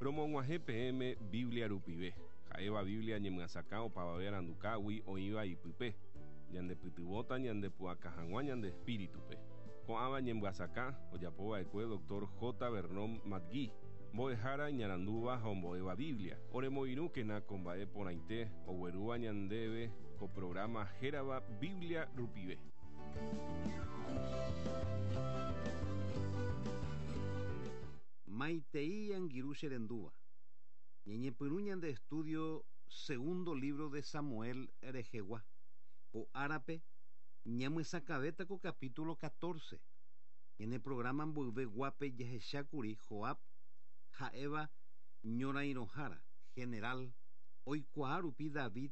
Romog̃uahẽ peẽme Biblia rupive, ha'éva Biblia ñemyasakã opavave arandukágui oĩva ipype, ñandepytyvõta ñandepu'aka hag̃ua ñande espíritupe. Ko'ãva ñemyasakã ojapova'ekue Doctor J. Vernon McGee, mbo'ehára iñarandúva ha ombo'éva Biblia. Oremoirũkena ko mba'e porãite oguerúva ñandéve ko programa hérava Biblia rupive. Maitei angirũ che rendúva. Ñañepyrũ ñande estudio segundo libro de Samuel rehegua. Ko árape ñamyesakãvéta ko capítulo 14. Ñane programa mboyve guápe jahechákuri Joab ha'éva ñorairõhára, general, oikuaa rupi David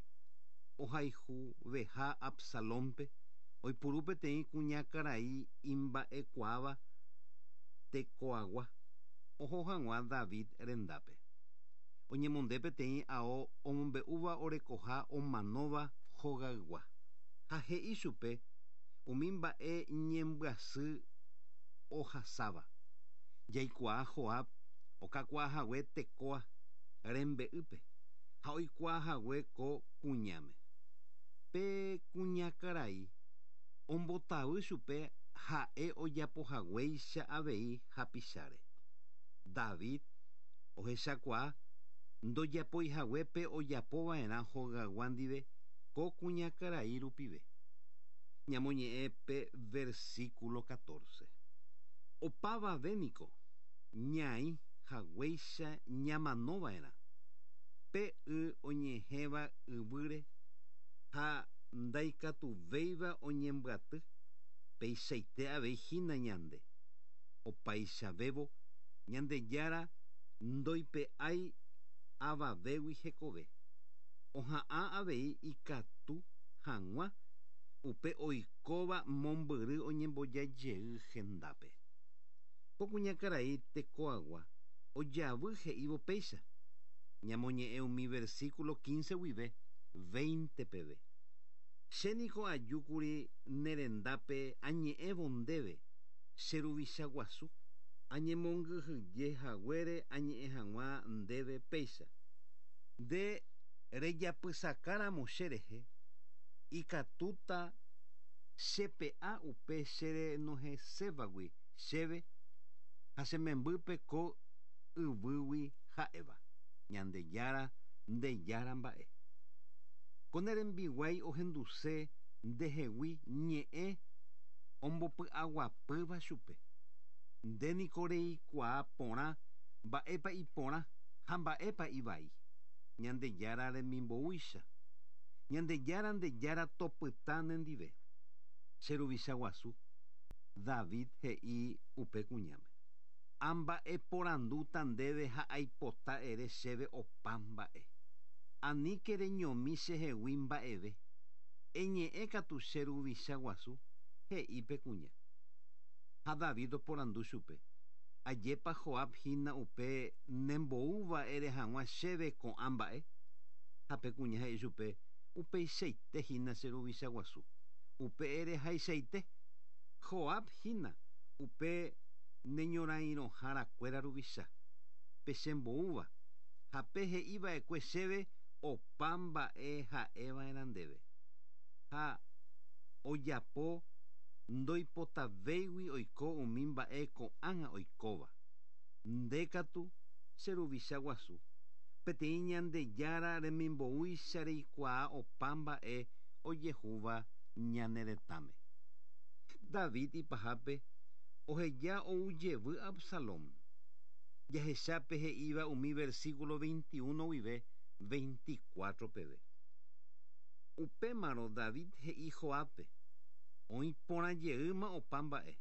ohayhuveha Absalónpe, oipuru peteĩ kuñakarai imba'ekuaáva Tecoagua oho hag̃ua David rendápe. Oñemonde peteĩ ao omombe'úva orekoha omanóva hogaygua. Ha he'i chupe umi mba'e ñembyasy ohasáva. Jaikuaa Joab okakuaahague Tecoa rembe'ýpe ha oikuaahague ko kuñáme. Pe kuñakarai ombotavy chupe ha'e ojapohaguéicha avei hapicháre. David ohechakuaa ndojapoihague pe ojapova'erã hogaygua ndive ko kuñakarai rupive. Ñamoñe'ẽ pe versículo 14. Opavave niko ñaĩ haguéicha ñamanova'erã, pe y oñehẽva yvýre ha ndaikatuvéiva oñembyaty, peichaite avei hína ñande. Opaichavévo Ñandejára ndoipe'ái avavégui hekove. Oha'ã avei ikatu hag̃ua upe oikóva mombyry oñemboja jey hendápe. Ko kuñakarai Tecoagua ojavy he'ívo péicha, Ñamoñe'ẽ umi versículo 15 guive 20 peve. Che niko ajúkuri ne rendápe añe'ẽvo ndéve, che ruvicha guasu, añemongyhyje haguére añe'ẽ hag̃ua ndéve péicha. Nde rejapysakáramo che rehe, ikatúta chepe'a upe che renohẽsévagui chéve ha che membýpe ko yvýgui ha'éva, Ñandejára nde Jára mba'e. Ko ne rembiguái ohenduse ndehegui ñe'ẽ ombopy'aguapýva chupe. Nde niko reikuaa porã mba'épa iporã ha mba'épa ivai, Ñandejára remimboúicha. Ñandejára nde Jára topyta nendive. Che ruvicha guasu, David he'i upe kuñáme. Amba'eporandúta ndéve ha aipota ere chéve opa mba'e. Aníke reñomi chehegui mba'eve. Eñe'ẽ katu che ruvicha guasu, he'i pe kuña. Ha David oporandu chupe, Ajépa Joab hína upe nemboúva ere hag̃ua chéve ko'ã mba'e? Ha pe kuña he'i chupe, Upeichaite hína che ruvicha guasu. Upe erehaichaite, Joab hína upe neñorairõharakuéra ruvicha, pe chemboúva, ha pe he'i va'ekue chéve opa mba'e ha'e va'erã ndéve. Ha ojapo ndoipotavéigui oiko umi mba'e ko'ág̃a oikóva. Nde katu, che ruvicha guasu, peteĩ Ñandejára remimboúicha reikuaa opa mba'e ojehúva ñane retãme. David ipahápe oheja ou jevy Absalón. Jahecha pe he'íva umi versículo 21 guive 24 peve. Upémarõ David he'i Joábpe, Oĩ porã jeýma opa mba'e.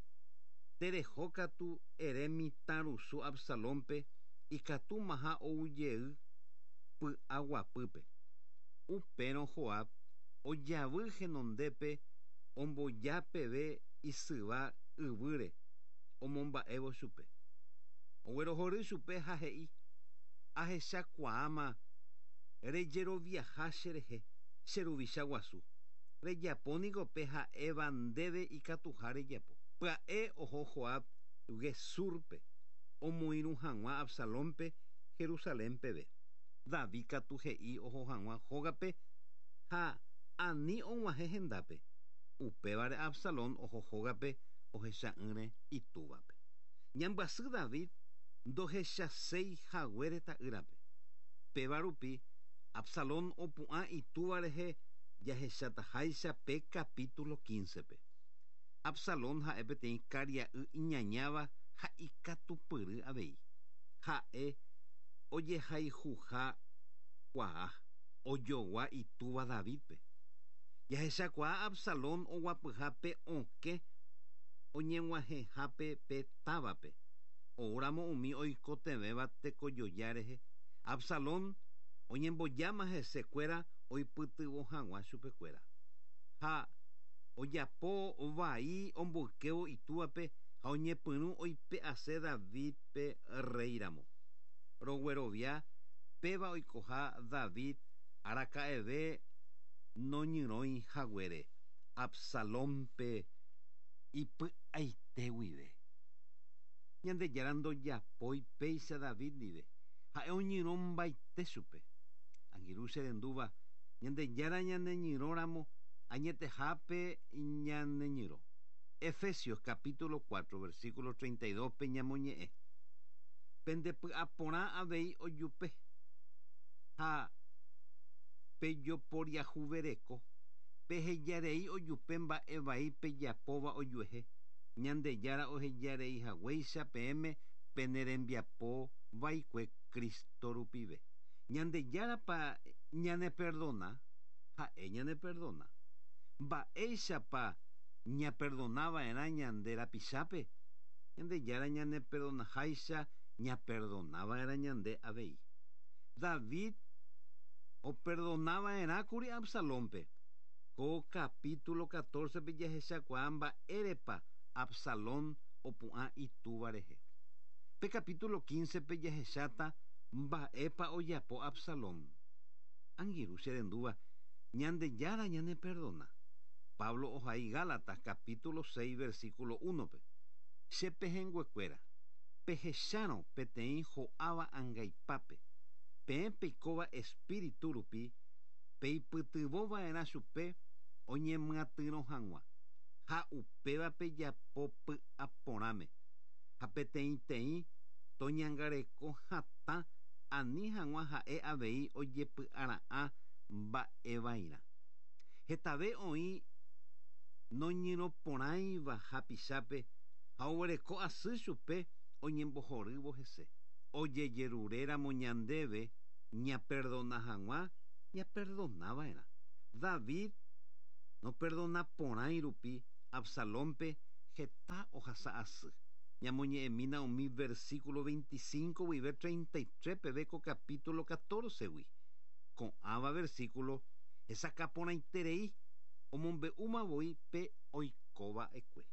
Tereho katu ere mitãrusu Absalónpe ikatúmaha ou jey py'aguapýpe. Upérõ Joab ojavy henondépe omboja peve isyva yvýre omomba'évo chupe. Oguerohory chupe ha he'i, Ahechakuaáma rejeroviaha cherehe, che ruvicha guasu. Rejapo niko pe ha'éva ndéve ikatuha rejapo. Pya'e oho Joab Gesúrpe omoirũ hag̃ua Absalónpe Jerusalén peve. David katu he'i oho hag̃ua hógape ha ani og̃uahẽ hendápe. Upévare Absalón oho hógape ohecha'ỹre itúvape. Ñambyasy David ndohechaséi haguére ta'ýrape. Péva rupi Absalón opu'ã itúva rehe jahechataháicha pe capítulo 15-pe. Absalón ha'e peteĩ karia'y iñañáva ha ikatupyry avei. Ha'e ojehayhuha kuaa, ojogua itúva Davídpe. Jahechakuaa Absalón oguapyha pe okẽ oñeg̃uahẽhápe pe távape. Oúramo umi oikotevẽva tekojoja rehe, Absalón oñembojáma hesekuéra oipytyvõ hag̃ua chupekuéra. Ha ojapo vai omboykévo itúvape ha oñepyrũ oipe'ase Davídpe rréiramo. Roguerovia péva oikoha David araka'eve noñyrõi haguére Absalónpe ipy'aite guive. Ñandejára ndojapói péicha David ndive, ha'e oñyrõmbaite chupe. Angirũ che rendúva, Ñandejára ñaneñyrõramo añetehápe ñaneñyrõ. Efesios capítulo 4 versículo 32-pe ñamoñe'ẽ, Pendepy'aporã avei ojupe ha pejoporiahuvereko, pehejarei ojupe mba'e vai pejapóva ojuehe, Ñandejára ohejarei haguéicha peẽme pene rembiapo vaikue Cristo rupive. Ñandejárapa ñaneperdona? Ha'e ñaneperdona. Mba'éichapa ñaperdonava'erã ñande rapichápe? Ñandejára ñaneperdonaháicha ñaperdonava'erã ñande avei. David operdonava'erãkuri Absalónpe. Ko capítulo 14-pe jahechakuaa mba'érepa Absalón opu'ã itúva rehe. Pe capítulo 15-pe jahecháta mba'épa ojapo Absalón. Angirũ che rendúva, Ñandejára ñaneperdona. Pablo ohai Gálatas capítulo 6 versículo 1-pe, Che pehẽnguekuéra, pehechárõ peteĩ ho'áva angaipápe, peẽ peikóva espíritu rupi, peipytyvõ va'erã chupe oñemyatyrõ hag̃ua, ha upéva pejapo py'a porãme, ha peteĩteĩ toñangareko hatã ani hag̃ua ha'e avei ojepy'ara'ã mba'evairã. Hetave oĩ noñyrõporãiva hapichápe ha oguereko asy chupe oñembohorývo hese. Ojejeruréramo ñandéve ñaperdona hag̃ua, ñaperdonava'erã. David noperdonaporãi rupi Absalónpe heta ohasa asy. Ñamoñe'ẽmína umi versículo 25 guive 33 peve ko capítulo 14-gui. Ko'ãva versículo hesakã porãiterei omombe'úma voi pe oikova'ekue.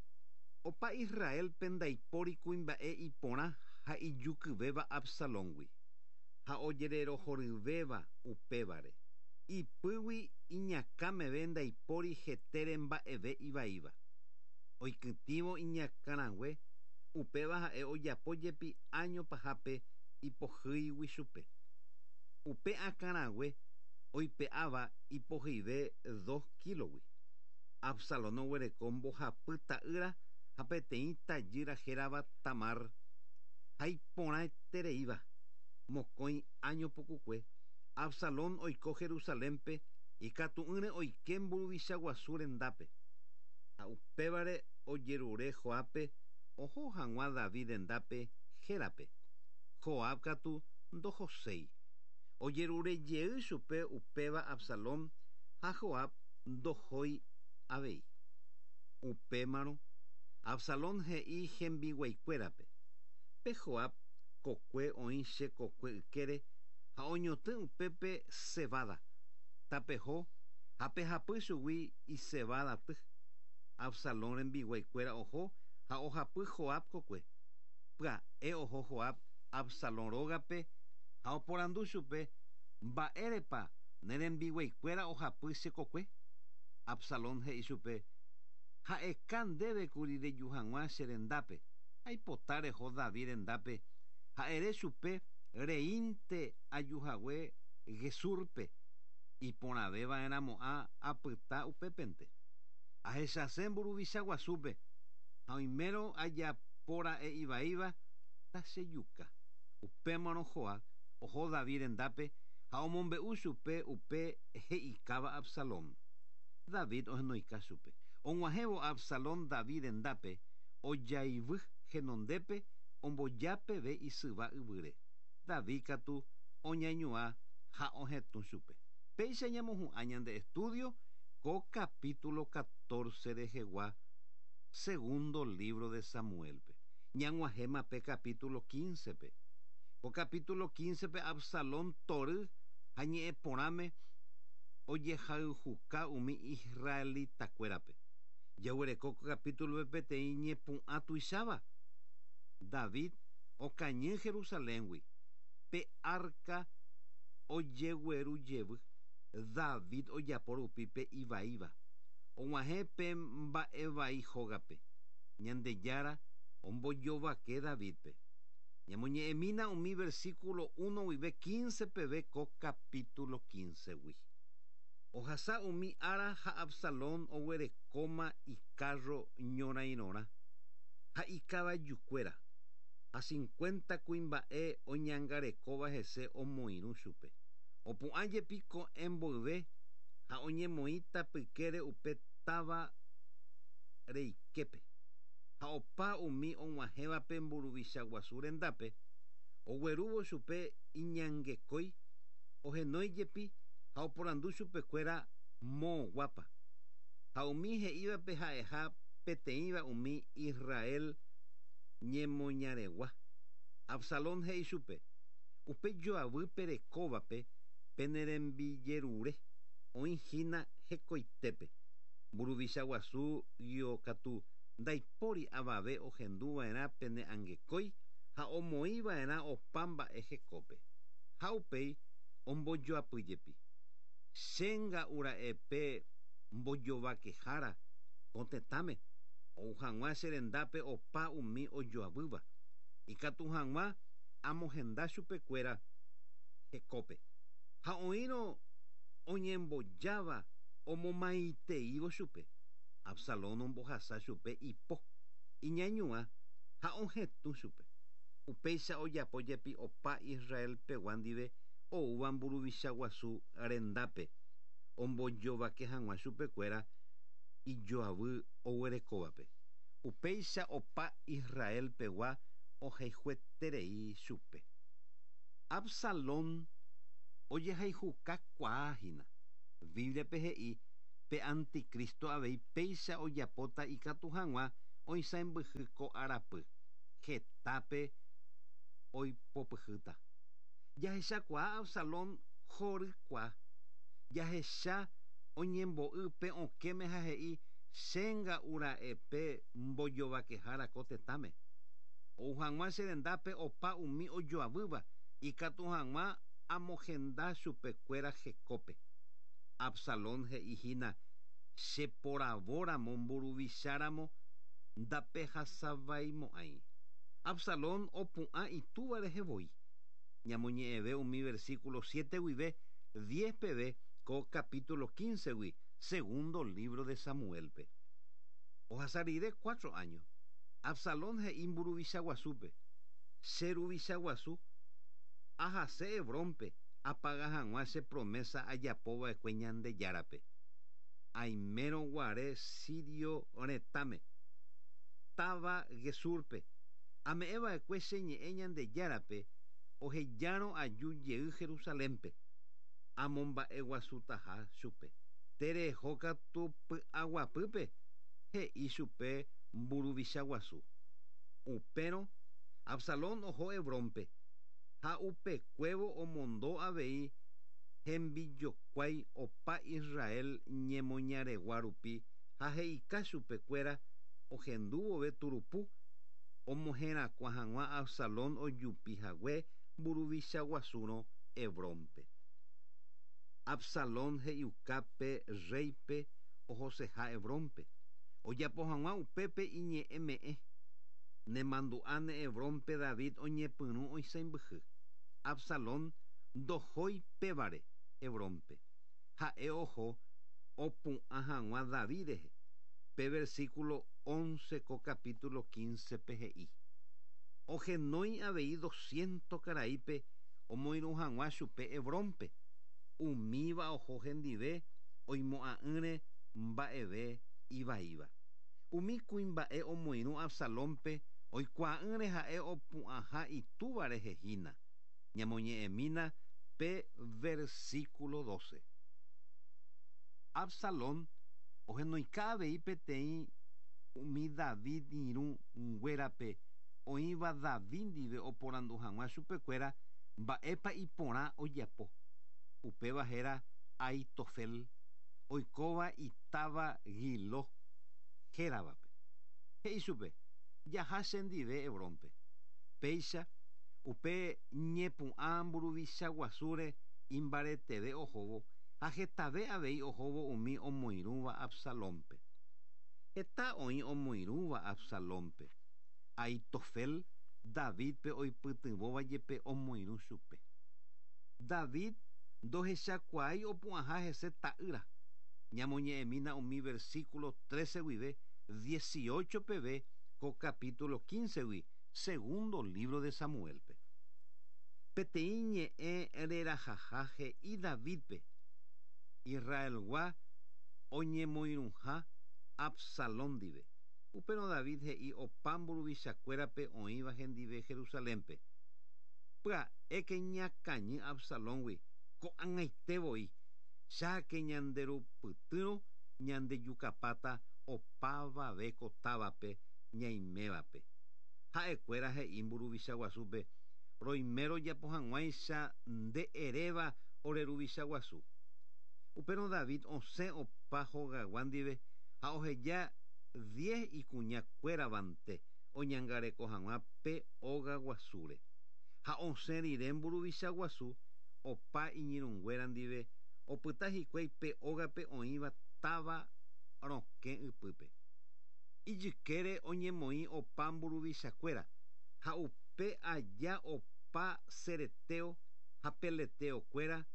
Opa Israélpe ndaipóri kuimba'e iporã ha ijukyvéva Absalóngui, ha ojererohoryvéva upévare. Ipýgui iñakã meve ndaipóri hetére mba'eve ivaíva. Oikytĩvo iñakãrangue, upéva ha'e ojapo jepi áño pahápe ipohýigui chupe. Upe akãrague oipe'áva ipohyive dos kílogui. Absalón oguereko mbohapy ta'ýra ha peteĩ tajýra hérava Tamar, ha iporãitereíva. Mokõi áño pukukue, Absalón oiko Jerusalénpe ikatu'ỹre oike mburuvicha guasu rendápe. Ha upévare ojerure Joábpe oho hag̃ua David rendápe hérape. Joab katu ndohoséi. Ojerure jey chupe upéva Absalón ha Joab ndohói avei. Upémarõ, Absalón he'i hembiguaikuérape, Pe Joab kokue oĩ che kokue ykére ha oñotỹ upépe cebada. Tapeho ha pehapy chugui icebada ty. Absalón rembiguaikuéra oho ha ohapy Joab kokue. Pya'e oho Joab Absalón rógape ha oporandu chupe, Mba'érepa ne rembiguaikuéra ohapy che kokue? Absalón he'i chupe, Ha'eka ndéve kuri reju hag̃ua che rendápe, aipota reho David rendápe ha ere chupe. Reínte ajuhague Gesúrpe, iporãveva'erãmo'ã apyta upépente. Ahechase mburuvicha guasúpe, ha oimérõ ajapóra'e ivaíva, tachejuka. Upémarõ Joab oho David rendápe ha omombe'u chupe upe he'ikáva Absalón. David ohenoika chupe. Og̃uahẽvo Absalón David rendápe, ojaivy henondépe omboja peve isyva yvýre. David katu oñañuã ha ohetũ chupe. Péicha ñamohu'ã ñande estudio ko capítulo 14 rehegua segundo libro de Samuelpe. Ñag̃uahẽma pe capítulo 15-pe. Ko capítulo 15-pe Absalón tory ha ñe'ẽ porãme ojehayhuka umi israelitakuérape. Jaguereko ko capítulope peteĩ ñepu'ã tuicháva. David okañy Jerusaléngui pe arca ojegueru jevy. David ojapo rupi pe ivaíva. Og̃uahẽ pe mba'evai hógape. Ñandejára ombojovake Davidpe. Ñamoñe'ẽmína umi versículo 1 guive 15 peve ko capítulo 15-gui. Ohasa umi ára ha Absalón oguerekóma ikárro ñorairõrã ha ikavajukuéra, ha 50 kuimba'e oñangarekóva hese omoirũ chupe. Opu'ã jepi ko'ẽ mboyve ha oñemoĩ tapykére upe táva reiképe. Ha opa umi og̃uahẽvape mburuvicha guasu rendápe, oguerúvo chupe iñangekói, ohenói jepi ha oporandu chupekuéra moõguápa. Ha umi he'ívape ha'eha peteĩva umi Israel ñemoñaregua. Absalón he'i chupe, upe joavy perekóvape penerembijerure, oĩ hína hekoitépe. Mburuvicha guasu guio katu ndaipóri avave ohenduva'erã pene angekói ha omoĩva'erã opa mba'e hekópe. Ha upéi ombojoapy jepi. Chenga'ura'e pe mbojovakehára ko tetãme, ou hag̃ua che rendápe opa umi ojoavýva. Ikatu hag̃ua amohenda chupekuéra hekópe. Ha oĩrõ oñembojáva omomaiteívo chupe. Absalón ombohasa chupe ipo, iñañuã ha ohetũ chupe. Upéicha ojapo jepi opa Israelpegua ndive oúva mburuvicha guasu rendápe, ombojovake hag̃ua chupekuéra ijoavy oguerekóvape. Upéicha opa Israelpegua ohayhueterei chupe. Absalón ojehayhukakuaahína. Bíbliape he'i pe anticristo avei péicha ojapóta ikatu hag̃ua oisãmbyhy ko arapy. Hetápe oipopyhýta. Jahechakuaa Absalón horykua. Jahecha oñembo'y pe okẽme ha he'i chenga'ura'e pe mbojovakehára ko tetãme. Ou hag̃ua che rendápe opa umi ojoavýva ikatu hag̃ua amohenda chupekuéra hekópe. Absalón he'i hína cheporavóramo mburuvicháramo ndapehasavaimo'ãi. Absalón opu'ã itúva rehe voi. Ñamoñe'ẽve umi versículo 7 guive 10 peve ko capítulo 15-gui, segundo libro de Samuelpe. Ohasa rire 4 años, Absalón he'i mburuvicha guasúpe, che ruvicha guasu, ahase Hebrónpe apaga hag̃ua che promesa ajapova'ekue Ñandejárape. Aimérõ guare sirio retãme, táva Gesúrpe, ame'ẽva'ekue che ñe'ẽ Ñandejárape ohejárõ aju jey Jerusalénpe, amomba'eguasutaha chupe. Tereho katu py'aguapýpe, he'i chupe mburuvicha guasu. Upérõ Absalón oho Hebrónpe, ha upekuévo omondo avei hembijokuái opa Israel ñemoñaregua rupi ha he'ika chupekuéra ohendu vove turupu omoherakuã hag̃ua Absalón ojupi hague mburuvicha guasúrõ Hebrónpe. Absalón he'iuka pe rréipe ohoseha Hebrónpe, ojapo hag̃ua upépe iñe'ẽme'ẽ. Nemandu'áne Hebrónpe David oñepyrũ oisãmbyhy. Absalón ndohói pévare Hebrónpe. Ha'e oho opu'ã hag̃ua David rehe. Pe versículo 11 ko capítulo 15-pe he'i: Ohenói avei doscientos karaípe omoirũ hag̃ua chupe Hebrónpe, umíva oho hendive oimo'ã'ỹre mba'eve ivaíva. Umi kuimba'e omoirũ Absalónpe oikuaa'ỹre ha'e opu'ãha itúva rehe hína. Ñamoñe'ẽmína pe versículo 12. Absalón ohenoika avei peteĩ umi David irũ nguérape oĩva David ndive oporandu hag̃ua chupekuéra mba'épa iporã ojapo. Upéva héra Ahitofel, oikóva itáva Giló héravape. He'i chupe, Jaha chendive Hebrónpe. Péicha, upe ñepu'ã mburuvicha guasúre imbareteve ohóvo ha hetave avei ohóvo umi omoirũva Absalónpe. Heta oĩ omoirũva Absalónpe. Ahitofel, Davídpe oipytyvõva jepe omoirũ chupe. David ndohechakuaái opu'ãha hese ta'ýra. Ñamoñe'ẽmína umi versículo 13 guive 18 peve ko capítulo 15-gui segundo lívro de Samuélpe. Peteĩ ñe'ẽ rerahaha he'i Davídpe, Israelgua oñemoirũha Absalón ndive. Upérõ David he'i opa mburuvichakuérape oĩva hendive Jerusalénpe, Pya'éke ñakañy Absalóngui ko'ag̃aite voi, cháke ñanderupytýrõ ñandejukapáta opavave ko távape ñaimévape. Ha'ekuéra he'i mburuvicha guasúpe, Roime rojapo hag̃uáicha nde eréva ore ruvicha guasu. Upérõ David osẽ opa hogagua ndive ha oheja diez ikuña kuéravante oñangareko hag̃ua pe óga guasúre. Ha osẽ rire mburuvicha guasu opa iñirũnguéra ndive opyta hikuái pe ógape oĩva táva rokẽ ypýpe. Ijykére oñemoĩ opa mburuvichakuéra, ha upe aja opa cereteo ha peleteo kuéra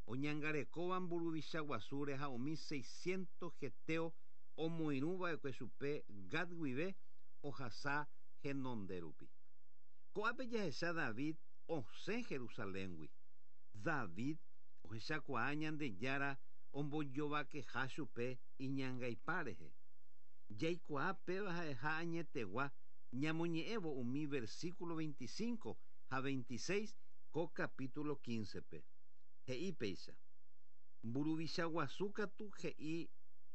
oñangarekóva mburuvicha guasúre ha umi seiscientos geteo omoirũ va'ekue chupe Gat guive ohasa henonde rupi. Ko'ápe jahecha David osẽ Jerusaléngui. David ohechakuaa Ñandejára ombojovakeha chupe iñangaipa rehe. Jaikuaa péva ha'eha añetegua ñamoñe'ẽvo umi versículo 25 ha 26 ko capítulo 15-pe. He'i péicha, Mburuvicha guasu katu he'i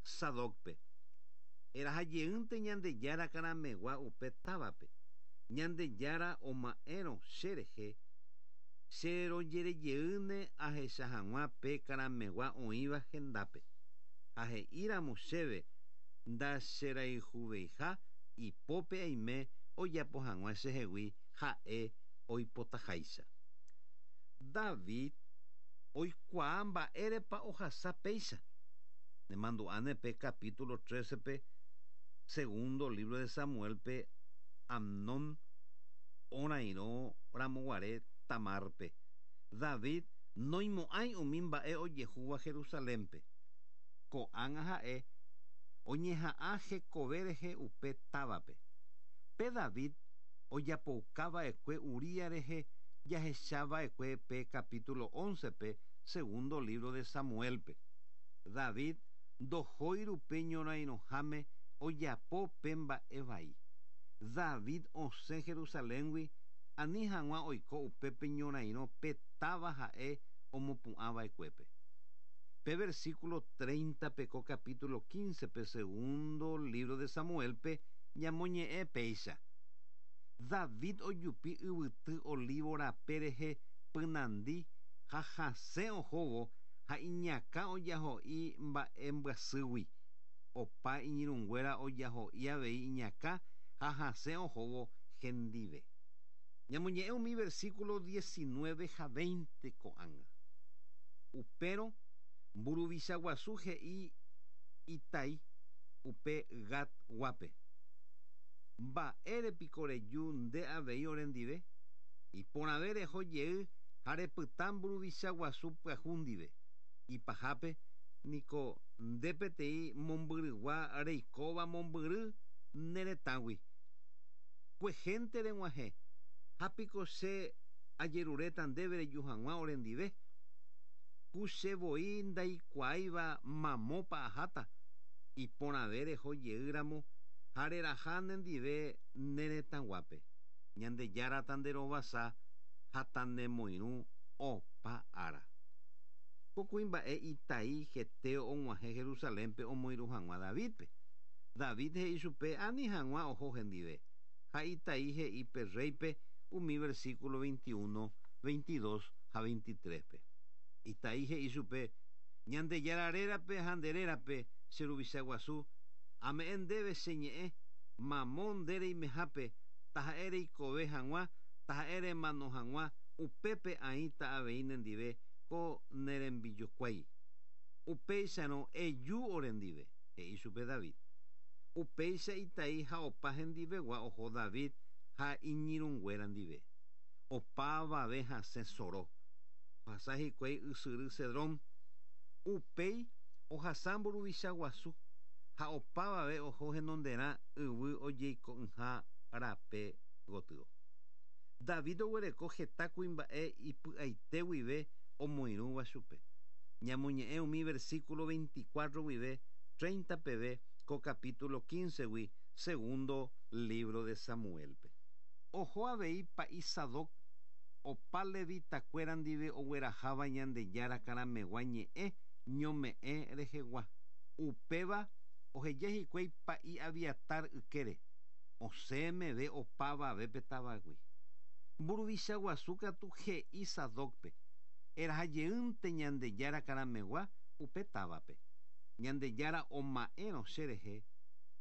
Sadócpe, Eraha jeýnte Ñandejára karamegua upe távape. Ñandejára oma'ẽrõ che rehe, che rojere jeýne ahecha hag̃ua pe karamegua oĩva hendápe. Ha he'i ramo chéve ndacherayhuveiha ipópe aime ojapo hag̃ua chehegui ha'e oipotaháicha. David oikuaa mba'érepa ohasa péicha. Nemandu'áne pe capítulo 13-pe segundo libro de Samuel-pe Amnón orairõ ramoguare Tamárpe. David noimo'ãi umi mba'e ojehúva Jerusalénpe. Ko'ág̃a ha'e oñeha'ã hekove rehe upe távape. Pe David ojapouka va'ekue Urías rehe jahecha va'ekue pe capítulo 11-pe segundo libro de Samuel-pe. David ndohói rupi ñorairõháme ojapo pe mba'e vai. David osẽ Jerusaléngui ani hag̃ua oiko upépe ñorairõ pe táva ha'e omopu'ã va'ekuépe. Pe versículo 30-pe ko capítulo 15-pe segundo libro de Samuel-pe ñamoñe'ẽ péicha, David ojupi yvyty olívo rape rehe pynandi ha hasẽ ohóvo ha iñakã ojaho'i mba'embyasýgui. Opa iñirũnguéra ojaho'i avei iñakã ha hasẽ ohóvo hendive. Ñamoñe'ẽ umi versículo 19 ha 20 ko'ág̃a. Upérõ mburuvicha guasu he'i Itai upe Gat guápe, Mba'ére piko reju nde avei orendive? Iporãve reho jey. Ha repyta mburuvicha guasu pyahu ndive. Ipahápe niko nde peteĩ mombyrygua reikóva mombyry ne retãgui. Kuehénte reg̃uahẽ, ha piko che ajeruréta ndéve reju hag̃ua orendive? Ku che voi ndaikuaáiva mamópa aháta, iporãve reho jeýramo ha reraha nendive ne retãguápe. Ñandejára tanderovasa ha tanemoirũ opa ára. Ko kuimba'e Itai heteo og̃uahẽ Jerusalénpe omoirũ hag̃ua Davídpe. David he'i chupe ani hag̃ua oho hendive, ha Itai he'i pe rréipe umi versículo 21, 22 ha 23-pe. Itai he'i chupe, Ñandejára rérape ha nde rérape, che ruvicha guasu, ame'ẽ ndéve che ñe'ẽ, mamo nde reimehápe, taha'e reikove hag̃ua, taha'e remano hag̃ua, upépe aĩta avei nendive ko ne rembijokuái. Upéicharõ eju orendive, he'i chupe David. Upéicha Itai ha opa hendivegua oho David ha iñirũnguéra ndive. Opavave hasẽ soro. Ohasa hikuái ysyry Cedrón. Upéi ohasa mburuvicha guasu ha opavave oho henonderã yvy ojeiko'ỹha rape gotyo. David oguereko heta kuimba'e ipy'aite guive omoirũva chupe. Ñamoñe'ẽ umi versículo 24 guive 30 peve ko capítulo 15-gui segundo libro de Samuel-pe. Oho avei pa'i Sadoc opa levitakuéra ndive ogueraháva Ñandejára karamegua ñe'ẽ ñome'ẽ rehegua. Upéva oheja hikuái pa'i Abiatar ykére, osẽ meve opavave pe távagui. Mburuvicha guasu katu he'i Sadócpe, Eraha jeýnte Ñandejára karamegua upe távape. Ñandejára oma'ẽrõ che rehe,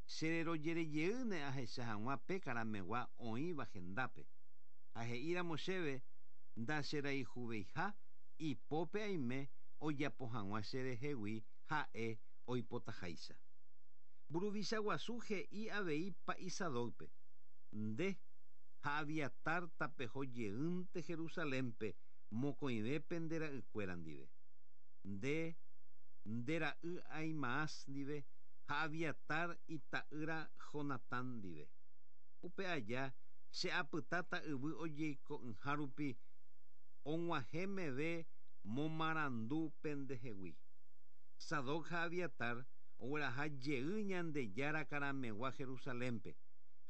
che rerojere jeýne ahecha hag̃ua pe karamegua oĩva hendápe. Ha he'íramo chéve ndacherayhuveiha, ipópe aime ojapo hag̃ua che rehegui ha'e oipotaháicha. Mburuvicha guasu he'i avei pa'i Sadócpe, Nde ha Abiatar tapeho jeýnte Jerusalénpe mokõive pende ra'ykuéra ndive. Nde, nde ra'y Ahimaas ndive ha Abiatar ita'ýra Jonatán ndive. Upe aja che apytáta yvy ojeiko'ỹha rupi og̃uahẽ meve momarandu pendehegui. Sadoc ha Abiatar ogueraha jey Ñandejára karamegua Jerusalénpe,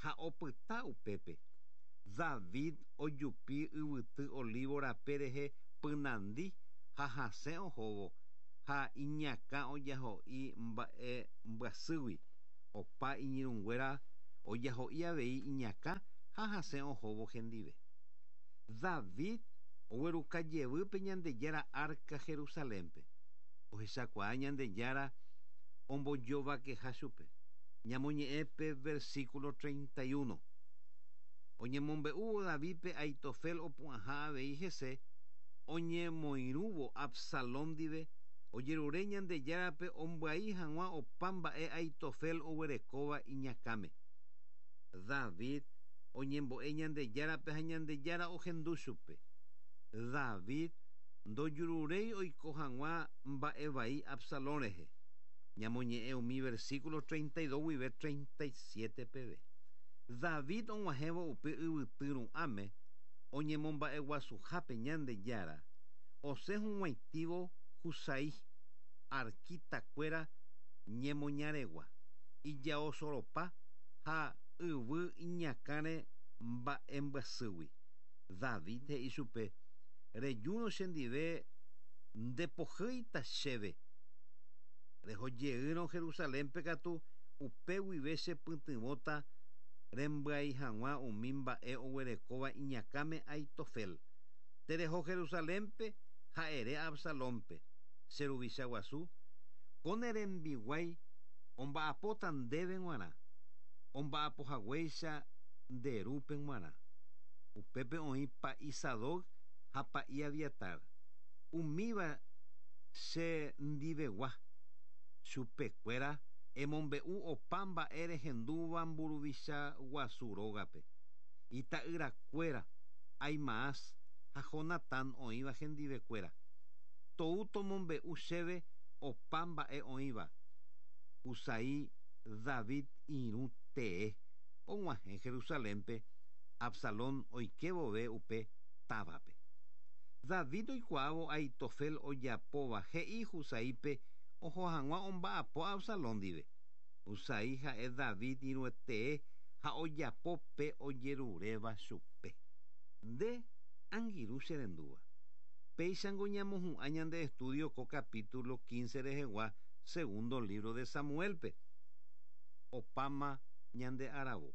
ha opyta upépe. David ojupi yvyty Olívo rape rehe pynandi ha hasẽ ohóvo, ha iñakã ojaho'i mba'e mbyasýgui, opa iñirũnguéra ojaho'i avei iñakã ha hasẽ ohóvo hendive. David ogueruka jevy pe Ñandejára árka Jerusalénpe. Ohechakuaa Ñandejára ombojovakeha chupe. Ñamoñe'ẽ pe versículo 31. Oñemombe'úvo Davídpe Ahitofel opu'ãha avei hese, oñemoirũvo Absalón ndive, ojerure Ñandejárape ombyai hag̃ua opa mba'e Ahitofel oguerekóva iñakãme. David oñembo'e Ñandejárape ha Ñandejára ohendu chupe. David ndojururéi oiko hag̃ua mba'e vai Absalón rehe. Ñamoñe'ẽ umi versículo 32 guive 37 peve. David og̃uahẽvo upe yvyty ru'ãme oñemomba'eguasuhápe Ñandejára, osẽ hug̃uaitĩvo Husai, arkitakuéra ñemoñaregua, ijaosoropa ha yvy iñakãre mba'embyasýgui. David he'i chupe, Rejúrõ chendive ndepohýita chéve. Reho jeýrõ Jerusalénpe katu upe guive chepytyvõta rembyai hag̃ua umi mba'e oguerekóva iñakãme Ahitofel. Tereho Jerusalénpe ha ere Absalónpe, che ruvicha guasu, ko ne rembiguái omba'apóta ndéve g̃uarã, omba'apo haguéicha nde rúpe g̃uarã. Upépe oĩ pa'i Sadoc ha pa'i Abiatar, umíva che ndivegua. Chupekuéra emombe'u opa mba'e rehendúva mburuvicha guasu rógape. Ita'yrakuéra, Ahimaas ha ha Jonatán oĩva hendivekuéra. Tou tomombe'u chéve opa mba'e oĩva. Husai David irũ tee og̃uahẽ Jerusalénpe Absalón oike vove upe távape. David oikuaávo Ahitofel ojapóva he'i Husaípe oho hag̃ua omba'apo Absalón ndive. Husai ha'e David irũetee ha ojapo pe ojeruréva chupe. Nde, angirũ che rendúva. Péichango ñamohu'ã ñande estudio ko capítulo 15 rehegua segundo libro de Samuel-pe. Opáma ñande aravo.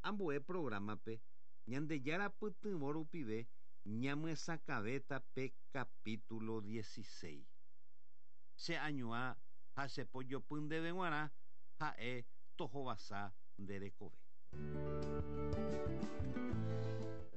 Ambue programa-pe, Ñandejára pytyvõ rupive ñamyesakãvéta pe capítulo 16. Che añuã ha che pojopy ndéve g̃uarã ha'e tohovasa nde rekove.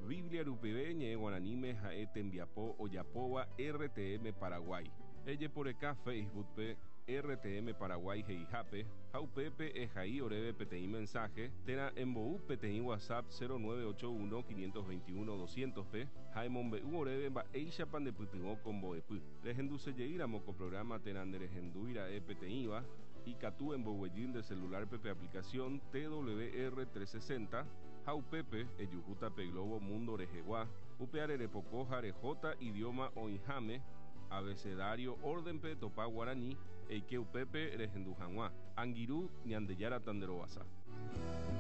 Biblia rupive ñe'ẽ guaraníme ha'e tembiapo ojapóva RTM Paraguay. Ejeporeka Facebook-pe RTM Paraguay he'ihápe ha upépe ehai oréve peteĩ mensaje térã embou peteĩ WhatsApp 0981 521 200-pe ha emombe'u oréve mba'éichapa ndepytyvõ ko mbo'epy. Rehendusejeýramo ko programa térã nderehendúira'e peteĩva, ikatu emboguejy nde celular-pe pe aplicación TWR 360 ha upépe ejuhúta pe globo mundo rehegua, upeare repoko ha rehóta idioma oĩháme, abecedario orden-pe etopa guarani, eike upépe rehendu hag̃ua. Angirũ, Ñandejára tanderovasa.